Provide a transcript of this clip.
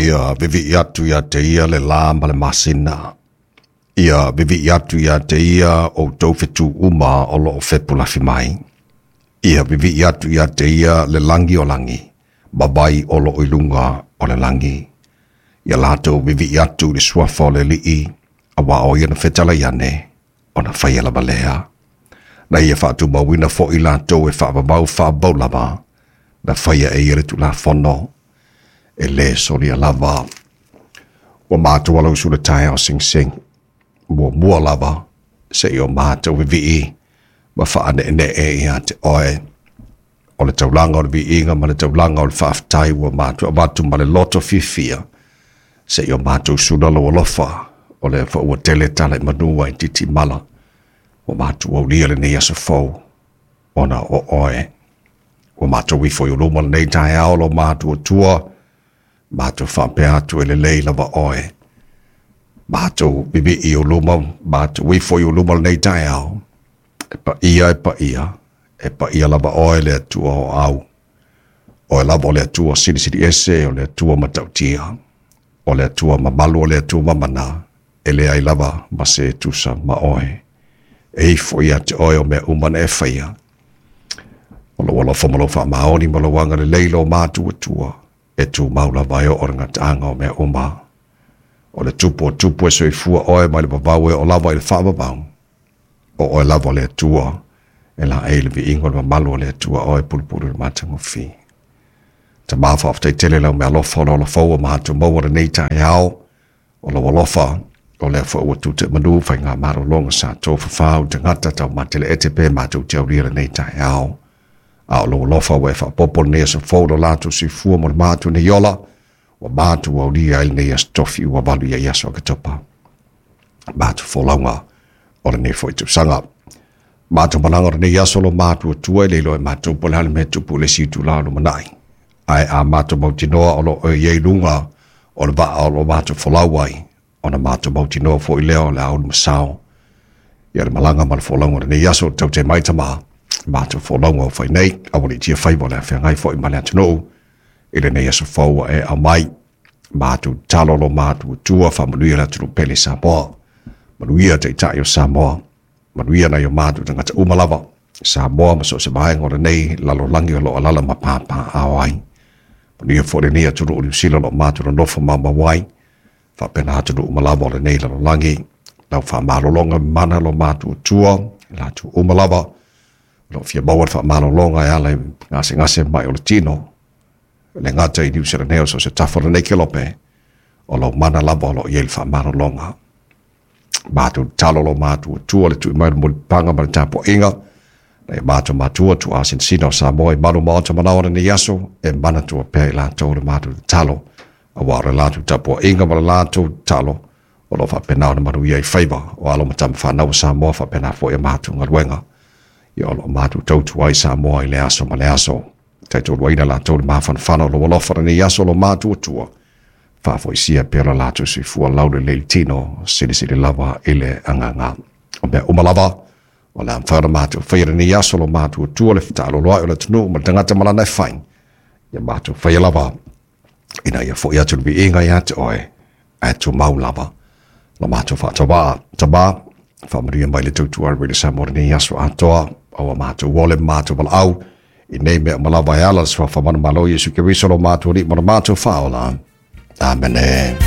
Ia vivii atu ia te ia le lā ma le masina. Ia vivii atu ia te ia outou fetu uma o loo fepulafi mai. Ia vivii atu ia te ia le lagi o lagi, ma vai o loo i luga o le lagi. Ia latou vivii atu i le suafa o le Alii, auā o ia na fetalai ane, ona faia lava lea. Na ia faatumauina foi latou e faavavau faavavau lava, na faia e ia le Tulafono, e lē solia lava. Ua matou alausu i le taeao segisegi, muamua lava seia o matou vivii ma faaneenee ia te oe. O le taulaga o le viiga ma le taulaga o le faafetai ua matou avatu ma le loto fiafia, seia o matou sula lou alofa, o lea foi ua tele tala i manu ae itiiti mala, ua matou aulia lenei aso fou ona o oe. Ua matou ifo i luma lenei taeao lo matou Atua, matou faapea atu e lelei lava oe. Matou vivii i luma, matou ifo i luma lenei taeao, e paia, e paia, e paia lava oe le Atua o au. Oe lava o le Atua silisili ese, o le Atua matautia, o le Atua mamalu, o le Atua mamana, e leai lava ma se tusa ma oe. E ifo ia te oe o mea uma na e faia. O lou alofa ma lou faamaoni ma lou agalelei lo matou Atua, e tumau lava e oo i le gataaga o mea uma. O le Tupu o tupu e soifua oe mai le vavau e oo lava i le faavavau. O oe lava o le Atua, e laei le viiga o le mamalu o le Atua oe pulupulu i le matagofie. Tama, faafetai tele lau meaalofa o le ola fou ua matou maua lenei taeao. O lou alofa, o lea foi ua tute i manu faigamalologa sa tofafau tagata taumateleete pe matou te aulia lenei taeao. A o lou alofa ua e faaopoopo lenei aso fou lo latou soifua mo le matou nei ola, ua matou aulia ai lenei aso tofi ua valu i ai aso Oketopa. Matou folauga o lenei foi tausaga. Matou malaga o lenei aso lo matou Atua, e le iloa e matou po o le a le mea e tupu i le isi itula o lumanai. Ae a matou mautinoa o lo o i ai luga o le vaa o lo matou folau ai, ona matou mautinoa foi lea o le a ulu masao. Ia le malaga ma le folauga o lenei aso, taute mai Tama, matou folauga o fai nei, aua ne i tia faiva o le a feagai foi ma le atunuu i lenei aso fou ua e aumai. Matou tatalo lo matou Atua, faamanuia le atunuu pele Samoa. Manuia Taitai o Samoa. Manuia nai o matou tagata uma lava, Samoa ma so o se vaega o lenei lalolagi o lo o alaala ma papaaao ai. Manuia foi lenei atunuu o Niu Sila o lo o matou nonofo maumau ai, faapena atunuu uma lava o lenei lalolagi. Lau faamalologa mana lo matou Atua, latou uma lava o lo o fia maua le faamalologa e ala i gasegase mai o le tino, e le gata i Niu Sila nei o so o se tafa o lenei kelope, o lou mana lava o lo o i ai le faamalologa. Matou tatalo lo matou Atua le tui mai o le mulipapaga ma le tapuaiga nai o matou matua tuuasinasina o Samoa i malu maota manao o lenei aso, e manatua pea i latou le matou tatalo, auā o le latou tapuaiga ma le latou tatalo o lo o faapena ona manuia ai faiva o alo ma tama fanau o Samoa, faapena foi a matou galuega ia o lo o matou tautua ai Samoa i le aso ma le aso. Taitoluaina latou le mafanafana o lou alofa lenei aso lo matou Atua, faafoisia pea lo latou soifua laulelei i le tino, silisili lava i le agaga. O mea uma lava o le a mafai ona matou faia lenei aso lo matou Atua, le fetaaloloai o le atunuu ma le tagata ma lana e fai, ia matou faia lava ina ia foi atu le viiga ia te oe, ae tumau lava lo matou faatauvaa. Tama, faamanuia mai le tautua a le Radio Samoa lenei aso atoa, aua matou ole ma matou valaau i nei mea uma lava e ala le suafa manumalo Iesu Keriso lo matou Alii ma lo matou Faaola. Amene.